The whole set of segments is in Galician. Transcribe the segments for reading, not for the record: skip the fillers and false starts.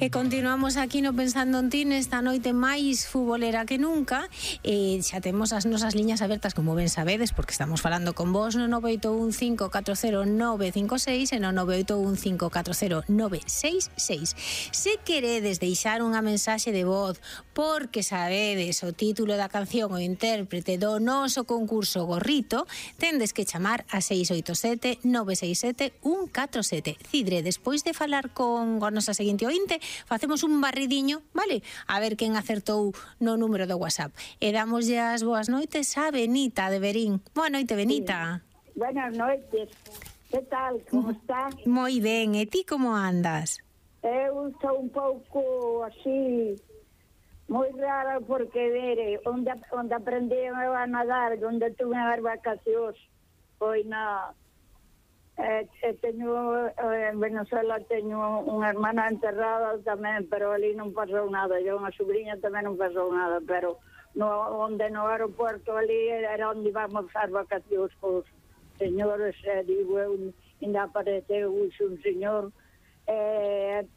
E continuamos aquí no Pensando en Ti nesta noite máis futbolera que nunca. Xa temos as nosas liñas abertas, como ben sabedes, porque estamos falando con vos no 981540956 e no 981540966. Se queredes deixar unha mensaxe de voz porque sabedes o título da canción ou intérprete do noso concurso Gorrito, tendes que chamar a 687 967 147. Cidre, despois de falar con a nosa seguinte ointe, facemos un barridiño, vale? A ver quen acertou no número do WhatsApp. E damoslle as boas noites a Benita de Verín. Boa noite, Benita. Sí. Buenas noites. Que tal? Como estás? Moi ben. E ti como andas? Eu estou un pouco así, moi rara, porque vere, onde aprendi a nadar, onde tuve as vacacións, foi na... en Venezuela teño unha hermana enterrada tamén, pero ali non pasou nada. Eu unha sobrinha tamén non pasou nada, pero onde no aeropuerto ali era onde íbamos as vacacións cos señores, digo eu, ainda apareceu un señor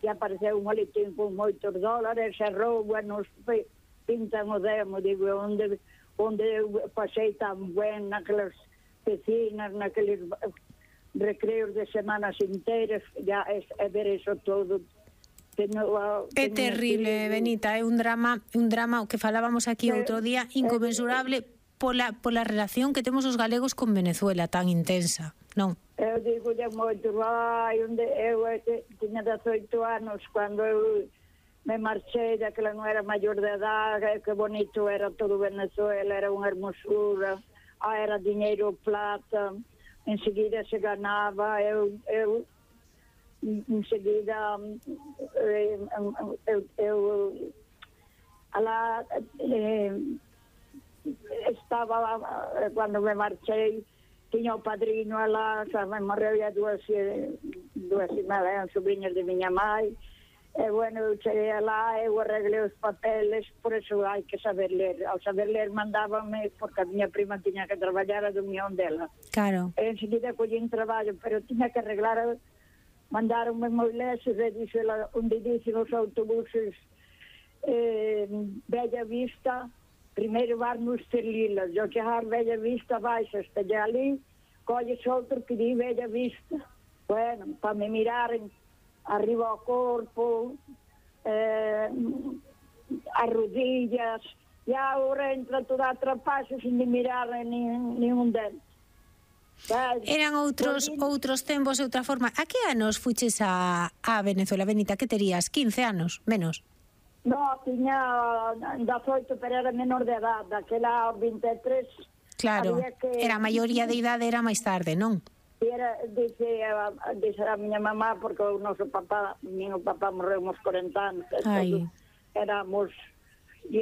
que apareceu un maletín con moitos dólares e rouba, nos pintan o demo, digo, onde pasei tan ben naquelas piscinas, naqueles recreos de semanas inteiras, ya é ver eso todo. É terrible, Benita, é un drama o que falábamos aquí outro día, inconmensurable pola relación que temos os galegos con Venezuela, tan intensa, non? Eu digo ya moito, onde eu tiña 18 anos cando eu me marchei, da que non era maior de edad, que bonito era todo Venezuela, era unha hermosura, era dinheiro plata, enseguida se ganaba, eu enseguida estaba, cando me marchei, tiña o padrino alá, xa me morreu a dúas sobrinhas de miña mãe, e bueno, eu cheguei alá, eu arreglei os papeles, por eso hai que saber ler. Ao saber ler mandábame, porque a miña prima tiña que traballar a do mión dela. Claro. E enseguida collín traballo, pero tiña que arreglar, mandaronme moi leses, e dixela, onde dicen os autobuses Bella Vista, primeiro vas no Esterlilas, eu chegar Bella Vista, baixas, estalle ali, colles outro que di Bella Vista. Bueno, para me miraren arriba ao corpo, as rodillas, e agora entra toda a trapaxa sin de mirar nin un dente. Eran outros tempos e outra forma. A que anos fuches a Venezuela, Benita? Que terías? 15 anos? Menos? No, tiña 18, pero era menor de edad. Daquela 23... Claro, era a maioría de idade, era máis tarde, non? Dice a miña mamá, porque o noso papá, meu papá morreu uns 40 anos, éramos, e